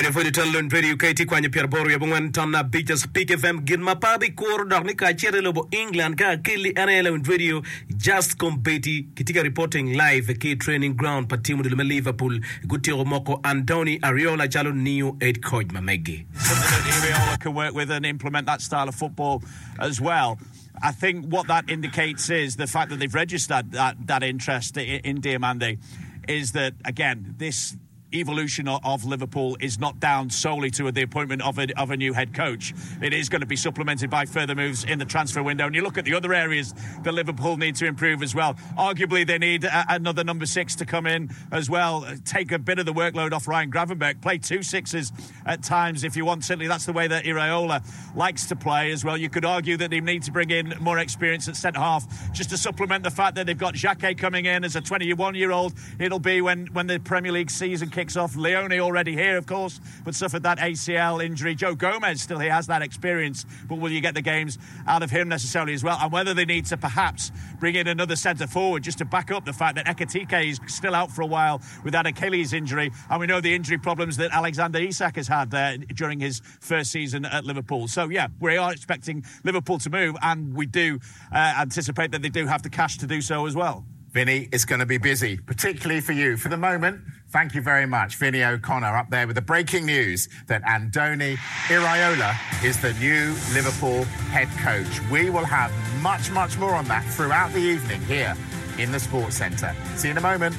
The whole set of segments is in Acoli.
Medo pwod i ton lony Radio ka itye kwanyo pyeraboro wiye abongwen ton abic Speak FM gin ma pe abikuro dok ni ka acito i lobo England ka akelli en aye lawiny radio Just Kombeddi kitye ka reporting live ki i training ground pa team odilo me Liverpool gutyeko moko Andoni Ariola calo new head coach ma megi. Something that Iraola can work with and implement that style of football as well. I think what that indicates is the fact that they've registered that, that interest in Diomande is that, again, this evolution of Liverpool is not down solely to the appointment of a, of a new head coach. It is going to be supplemented by further moves in the transfer window. And you look at the other areas that Liverpool need to improve as well. Arguably, they need a, another number six to come in as well, take a bit of the workload off Ryan Gravenberch, play two sixes at times if you want. Certainly, that's the way that Iraola likes to play as well. You could argue that they need to bring in more experience at centre half just to supplement the fact that they've got Jacquet coming in as a 21 year old. It'll be when, when the Premier League season kicks off. Leone already here, of course, but suffered that ACL injury. Joe Gomez still he has that experience, but will you get the games out of him necessarily as well? And whether they need to perhaps bring in another centre forward just to back up the fact that Ekitike is still out for a while with that Achilles injury. And we know the injury problems that Alexander Isak has had there during his first season at Liverpool. So, yeah, we are expecting Liverpool to move, and we do uh, anticipate that they do have the cash to do so as well. Vinny, it's going to be busy, particularly for you. For the moment, thank you very much. Vinny O'Connor up there with the breaking news that Andoni Iraola is the new Liverpool head coach. We will have much, much more on that throughout the evening here in the Sports Centre. See you in a moment.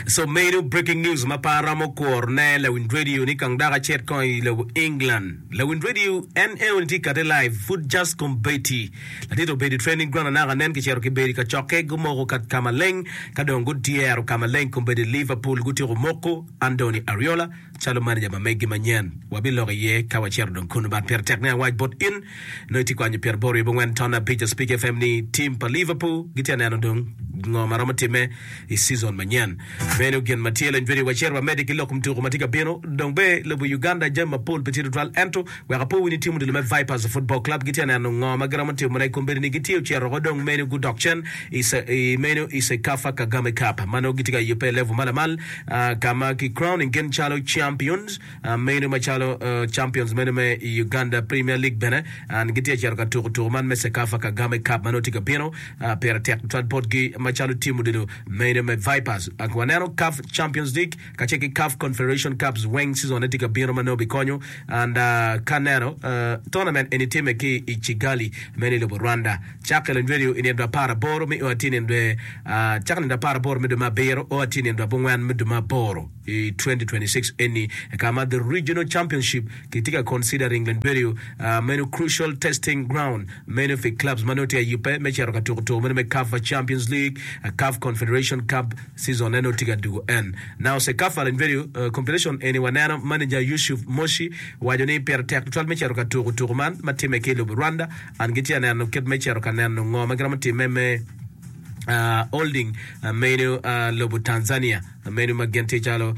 So medo breaking news ma pe aromo kuro ne lawiny radio ni kong dok acit kong i lobo England. Lawiny radio en eno ni tye kate live pud just kombeddi. Ladit obedo i training ground anaka nen kicito kibedo i kacokke gumoko ka ka maleng ka dong gudyero ka maleng kombeddi Liverpool gutyeko moko Andoni Ariola calo manager ma megi manyen. Wabiloko iye ka wacito dong kunu but pire tek ni awac bot in Nongo itye kwanyo pyeraboro wiye abongwen ton abic a Speak FM ni team pa Liverpool gitye ka neno dong ngo ma romo timme i season manyen. Meno gin ma tye lony video wacito wamedde ki lok kom tuko ma tye ka bino. Dong be lobo Uganda jami mapol pe tye tutwal ento wek apo wi ni team odilo me Vipers Football Club gitye ka neno ngo ma giromo timone kombeddi ni gitye ocito oko dong meno gudok cen i meno i Cecafa Kagame Cup ma nongo gitye ka yubbe i level ma lamal ka ma ki crowning gin calo champions. Meno macalo champions meno me Uganda Premier League bene and gitye ka cito ka tuko tuko man me Cecafa Kagame Cup ma nongo tye ka bino pire tek tutwal botgi macalo team odilo meno me Vipers. Waneno CAF Champions League kacel ki CAF Confederation Cups weng season ne tye ka bino ma nongo bikonyo and ka neno tournament eni time ki i Kigali meno i lobo Rwanda cake lony radio i nino 18 me o atir nino cake nino 18 me dwe me abiro o atir nino abongwen me dwe me aboro. I 2026 eni ka ma the regional championship kitye ka considering lony bedo meno crucial testing ground meno pi clubs ma nongo tye ka yubbe me cito ka tuko tuko meno me CAF Champions League, CAF Confederation Cup season ne nongo tye ka dugo en. Now CECAFA lony bedo competition eni waneno manager Yusuf Moshi waco ni pire tek tutwal me cito ka tuko tuko man ma timme ki i lobo Rwanda and gitye ka neno kit me cito ka neno ngo ma giromo timme me holding meno lobo Tanzania. Meno ma gin tye calo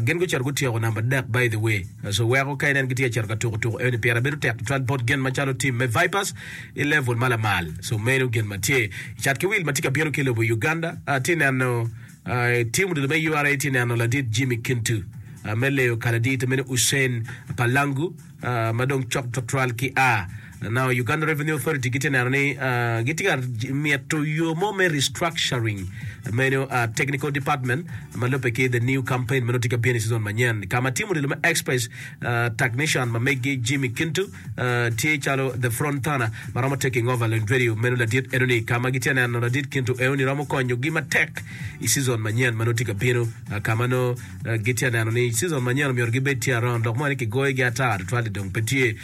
gin gucito gutyeko namba dek by the way so weko ka inen gitye ka cito ka tuko tuko eni pire bedo tek tutwal bot gin macalo team me Vipers i level ma lamal so meno gin ma tye cat ki wil ma tye ka bino ki lobo Uganda tye neno team odilo me URA tye neno ladit Jimmy Kintu me leyo kaladit meno Hussein Palangu ma dong cok twatwal ki a Now Uganda Revenue Authority gitye neno ni gitye ka mito yo mo me restructuring meno technical department ma lubbe ki the new campaign ma nongo tye ka bino i season manyen ka ma timo odilo me express technician ma megi Jimmy Kintu tye calo the front runner ma romo taking over lony radio meno ladit enoni ka ma gitye neno ladit Kintu enoni romo konyogi matek i season manyen ma nongo tye ka bino ka ma nongo Gitye ka neno ni season manyen omyero gibed tye around dok mo ni kigoyogi ata tutwal-li dong pe tye.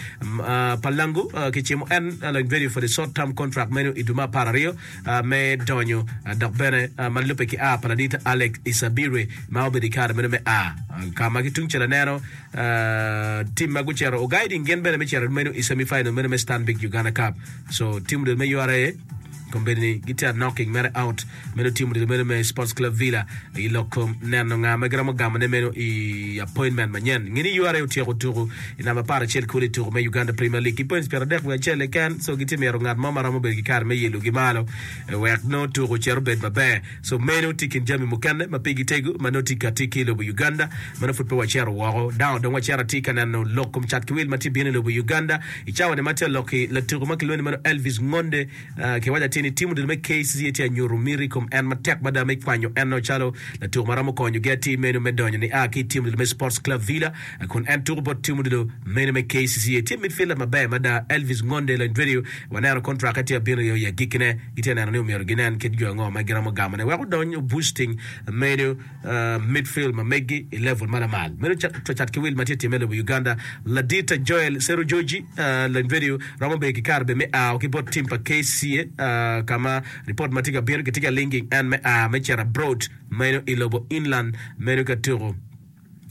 Palango kicimo en lony vedio for the short term contract meno i dwe me 12 me donyo dok bene ma lubbe ki a pa ladit Alex Isabirwe ma obedo i kare meno me a ka ma ki tungcel aneno team ma gucito oguiding gin bene me cito meno i semi final meno me Stanbic Uganda Cup so team odilo me URA. Kombeddi ni gitye a knocking mere out meno team odilo meno me Sports Club Villa i lok kom neno nga ma giromo gamo ne meno i appointment manyen. Nge ni URA otyeko tuku i namba 11 kulu i tuku me Uganda Premier League ki points 31 keken so gitye myero ngat mo ma romo bedo ki kare me yelo gi malo wek nongo tuku ocit obed maber. So meno tye i kin jami mukene ma pigi tego ma nongo tye kati ki i lobo Uganda ma nongo pud pe wacito woko. Dano dong wacito atir ka neno lok kom cat ki wil ma tye bino i lobo Uganda i cawa ni ma tye lok-ki latuko ma kilwongo ni meno Elvis Ngonde kiwaco atir ni tim odilo me KCCA tye ka nyuto miti i kom en matek mada me kwanyo en calo latuko ma romo konyogi atir meno me donyo nia ki i tim odilo me Sports Club Villa kun en tuko bot tim odilo meno me KCCA. Tye midfielder maber mada Elvis Ngonde Lanyverio waneno kontrakke tye ka bino i agikkine. Gitye ka neno ni omyero ginen kit jo ango ma giromo gamone wek odony boosting meno midfield ma megi i level ma lamal. Meno cat ki wil ma tye timme i lobo Uganda. Ladit Joel Serujoji Lanyverio romo bedo ki kare bene me ao ki bot tim pa KCA ka ma ripot ma tye ka bino kitye ka linking en me a me cito abroad meno i lobo England meno ka tuko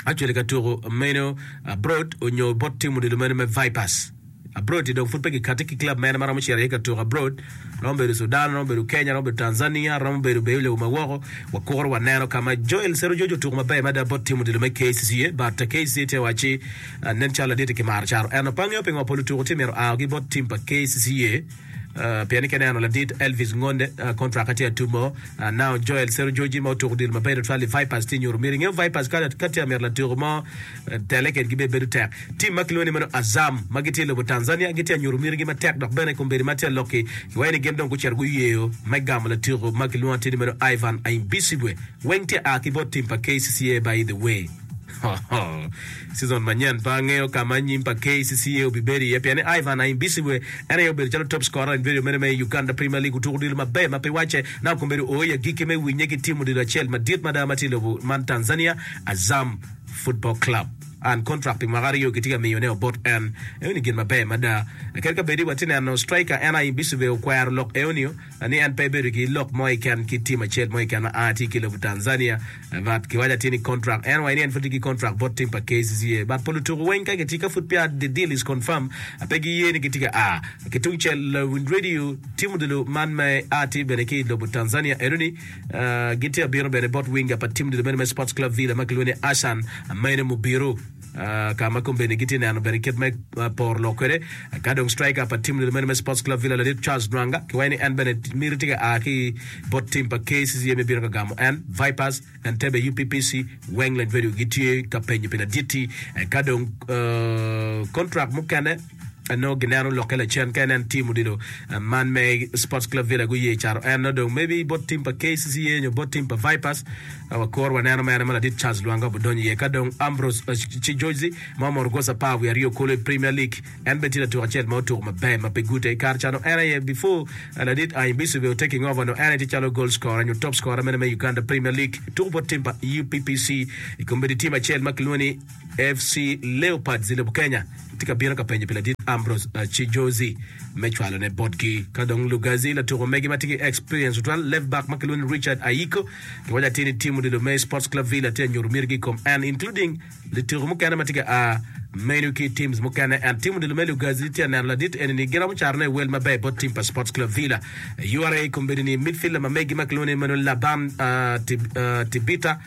actually ka tuko meno abroad onyo bot tim odilo meno me Vipers. Abroad-ti dong pud pe kikati ki club mene ma romo cito iye ka tuko abroad. Romo bedo Sudan, romo bedo Kenya, romo bedo Tanzania, romo bedo bene lobo ma woko. Wakuro waneno ka ma Joel Serujojo otuko maber mada bot tim odilo me KCCA but KCCA tye wacci nen calo ladit-ti kimaro caro ento pe angeyo pingo pol lutuko tye myero oa ki bot tim pa KCCA pien ni ka ineno ladit Elvis Ngonde contract-ke tye atumo now Joel Serujoji ma otuko odilo maber tutwal i Vipers tye nyuto myero ingeyo Vipers ka tye ka mito latuko mo tele kedgi bene bedo tek. Tim ma kilwongo ni meno Azam ma gitye i lobo Tanzania gitye ka nyuto mitigi matek dok bene kombeddi ma tye alok-ki kiwaco ni gin dong gucito guyeyo me gamo latiko ma kilwongo atir ni meno Ivan Aimbisibwe weng tye a ki bot tim pa KCCA by the way Season manyen pe angeyo ka ma anyim pa KCCA obibedo iye pien ni Ivan Aimbisibwe en aye obedo calo top scorer in video meno me Uganda Premier League otuko odilo maber ma pe wacce naka kombeddi oo i agikki me winye ki tim odilo acel madit mada ma tye i lobo man Tanzania Azam Football Club. And contract pi mwaka aryo kitye ka miyo ne bot en. Eoni gin maber mada. Kadi ka bedi watye neno striker en aye Bisuve okwero lok eonio ni en pe ebedo ki lok mo keken ki team acel mo keken ma a tye ki lobo Tanzania but kiwaco atir ni contract en waco ni en pud tye ki contract bot team pa KCCA but pol lutuku weng ka gitye ka pud peya the deal is confirm pe giye ni gitye ka a ki tungcel lawiny radio team odilo man me a tye bene ki lobo Tanzania enoni Gitye abino bene bot winga pa tim odilo meno me Sports Club Villa ma kilwongo ni Hassan Maina Mubiru ka ma kombeddi gitye neno bene kit me poro lok kwede. Ka dong striker pa tim odilo meno me Sports Club Villa ladit Charles Nwanga kiwaco ni en bene miti tye ka a ki bot tim pa KCCA me bino ka gamo en. Vipers, Entebbe UPPC, Wengland Radio gitye ka penyo pi ladit-ti. Ka dong kontrak mukene nongo gineno lokke lacen ka inen tim odilo man me Sports Club Villa guye caro en nongo dong maybe bot tim pa KCCA nyo bot tim pa Vipers wakuro waneno mere ma ladit Charles Lwanga obidonyo iye. Ka dong Ambrose Chijozi ma omoto goals 12 kulu i Premier League en bene tye latuk acel ma otuko maber ma pe gute i kare ca nongo en aye before ladit Ayimbisu be taking over nongo en aye tye calo goal scorer nyo top scorer mene me Uganda Premier League tuko bot tim pa UPPC i kombeddi tim acel ma kilwongo ni FC Leopards i lobo Kenya tye ka bino ka penyo pi ladit Ambrose Chijozi me cwalone botgi. Ka dong Lugazi, latuko megi ma tye ki experience tutwal, left back ma kilwongo ni Richard Ayiko, kiwaco atir ni tim odilo me Sports Club Villa tye ka nyuto mitigi i kom en including lutuko mukene ma tye ka a menu ki teams mukene. And tim odilo me Lugazi tye ka neno ladit eni ni giromo carone i wel maber bot tim pa Sports Club Villa. URA kombeddi ni midfielder ma megi ma kilwongo ni meno Laban Tibita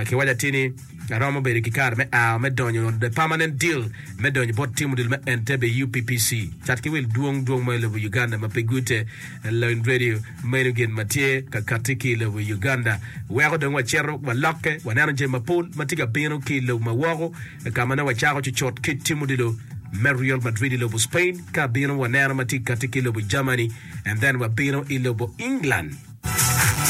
kiwaco atir ni Aromo bedo ki kare me a me donyo on the permanent deal me donyo bot tim odilo me Entebbe UPPC. Cat ki wil dwong dwong ma i lobo Uganda ma pe gute Lawiny Radio meno gin ma tye ka kati ki i lobo Uganda. Weko dong wacito walokke waneno jami mapol ma tye ka bino ki i lobo ma woko ka ma nongo wacako cucut ki tim odilo me Real Madrid i lobo Spain ka bino waneno ma tye ka kati ki i lobo Germany and then wabino i lobo England.